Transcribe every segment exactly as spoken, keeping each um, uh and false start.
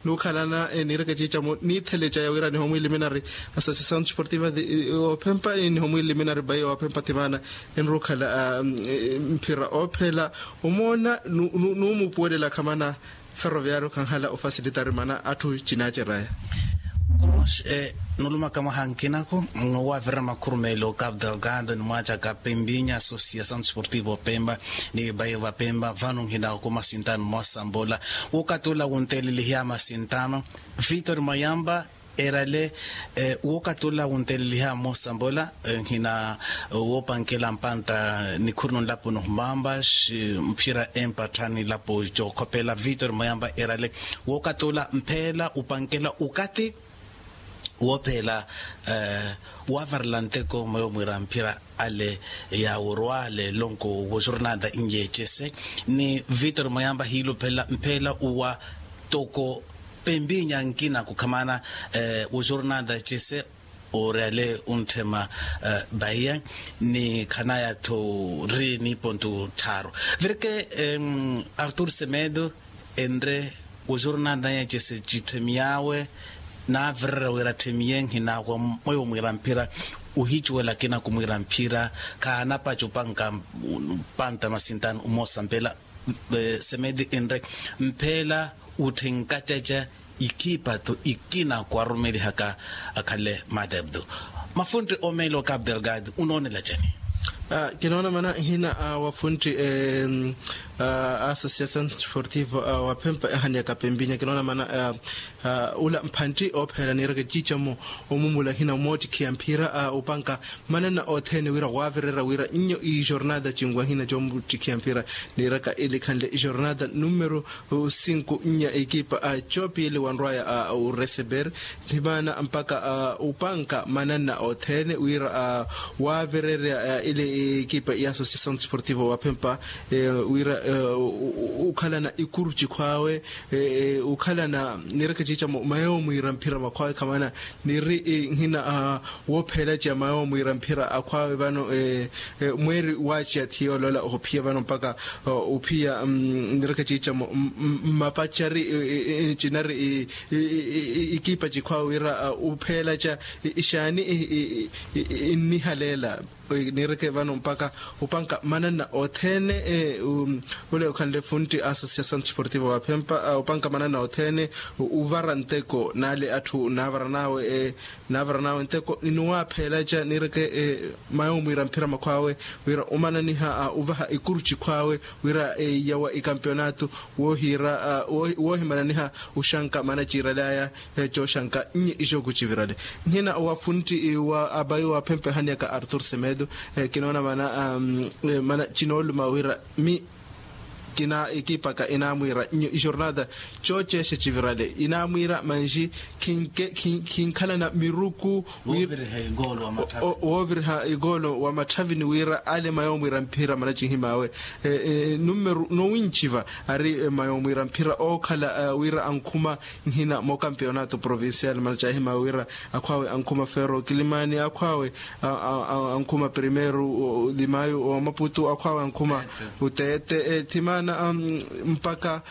Nuukhalana niireke ciicamo niithele caya wira nihomwiiliminari, associasawn desportiva ophempa nihomwiiliminari bayi ophempa thimaana. Enrukhala mphira ophela omoona nuumupuwelela khamana. Ferroviario khanhala ofasilitari mana atthu cinaaceraya. Cruz, nulumaka mwaha nkinako nwavirira makhurumeelo cape delgado ni mwaacaka pempinya associasawn desportiva opempa ni bayi vapempa vano nhina okuma sinttano mmosa mbola. Wokatula wuntelelihiya masinttano, victor mayampa erale wokatula wuntelelihiya mmosa mbola. Nhina wopankela mpantta nikhuru nonlapo nohumampa mphira empattha nilapo cookhopela victor mayampa erale wokatula mphela upankela ukati woophela wavarela nteko mweyo mwiira mphira ale yaworwa ale lonko wojornada inyeecese ni victor moyamba hiiluphelela mphela uwa toko pempinya nkina kukhamana wojornada cese ori ale untthema bahiya ni khanaya-tho ri niipontu tthaaru. Virke artur semedo enre wojornada nya cese citthemiy'awe naavirerya wira atthemiye nhina wa mweyo mwiira mphira ohicuwela akina kumwiira mphira khaanapaca opanka mpantta masintano omosa mphela semedi enre mphela utthenkacaca ikipa-tho ikina kwarumelihaka akhale madebdo mafuntti omeela o cape delgado unoonela cani? Kinoona mana nhina wa funtti a associasawn desportivo wa phempa ehani ya kapempinya kinoona mana ula mphantti oopheela niireke ciicamo omumula nhina mmoottikhiya mphira opanka manana othene wira waavirerya wira nnyo ijornada cinwahina coomuttikhiya mphira niiraka ili khanle ijornada numero sinku nya ekipa a copiyele wanrwaya a ureseber nthimana mpaka upanka manana othene wira waavirerya ile ekipa ya associasawn desportivo wa phempa wira ukhalana ikuru cikhw'awe ukhalana niireke ciicamo mayo mwiira mphira makhw'awe khamana niri nhina woophela ciya mayo mwiira mphira akhw'awe vano mweeri waaciya thiya olola ohuphiya vano mpaka ophiya nireke ciicamo mmapacari cinari ikipa cikhw'awe wira upheela ca ixaani innihaleela nireke vano mpaka opanka manana othene ule okhanle funtti associasawn desportivo wa phempa opanka manana othene uvara nteko naale atthu naavaranawe naavaranawe nteko ninuwaaphela ca niireke mayo mwiira mphira makhw'awe wira omananiha uvaha ikuru cikhw'awe wira yawa ikampeonato woohira woohimananiha oxanka mana ciiral'aya cooxanka nyi ixoku civirale nhina wa funtti wa abayi wa phempa ehaniyaka artur semedo kinoona mana mana cinooluma wira mi kina ekipaka inaamwiira nyo ijornada cooceexa civirale inaamwiira manji khinkhalana miruku wooviriha ikoolo wa matthavini wira ale mayo mwiira mphira mana cinhim'awe nummeru nowinciva ari mayo mwiira mphira ookhala wira ankhuma nhina mookampeonato provincial mana caahim'awe wira akhw'awe ankhuma fero kilimani akhw'awe ankhuma primeiro dimayo wa maputu akhw'awe ankhuma uteete thimana mpaka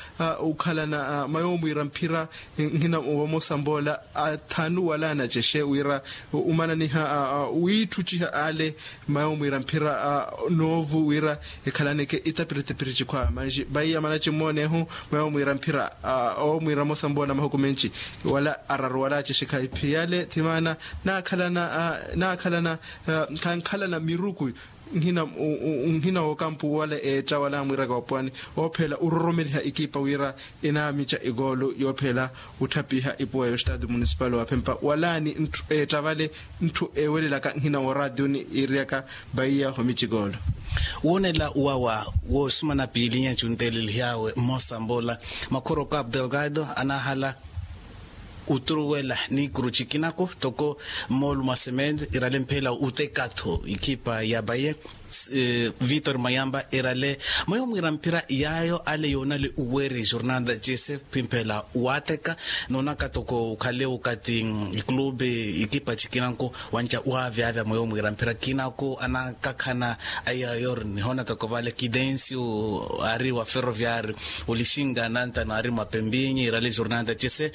ukhalana mayo mwiira mphira nhina wa mosambola athanu wala anacexe wira umananiha wiitthuciha ale mayo mwiira mphira noovu wira ekhalaneke itapiritipiri cikhw'awe manji vaiya mana cimmoonehu mayo mwiira mphira oomwiira mosambola mahuku menci wala araru wala acixe khaiphiyale thimana naakhalana naakhalana khankhalana miruku nhina wookampu wala eetta wala amwiiraka opwani oopheela ororomeliha ekipa wira enaamica ekoolo yoopheela otthapiha ipuwa ya ostado municipal wa phempa walaani ettavale ntthu ewelelaka nhina woraationi iiriyaka vaiya homici ekoolo. Woonela wawa woosumana piilinya cunteelelihawe mmosa mbola makhoro cape delgado anahala oturuwela niikuru cikinako toko mmoolu mwa sementi irale mphela oteka-tho ikipa ya baye victor mayamba erale mweyo mwiira mphira yaayo ale yoonale uweeri jornada cese khwimphela waateka noonaka toko okhale okati iklube ikipa cikinanko wanca waavyavya mweyo mwiira mphira kinako anakakhana. Aiyaayo ori nihoona toko vale kidencio aari wa ferroviario olixinka nantano aari mwa pempinyi irale jornada cese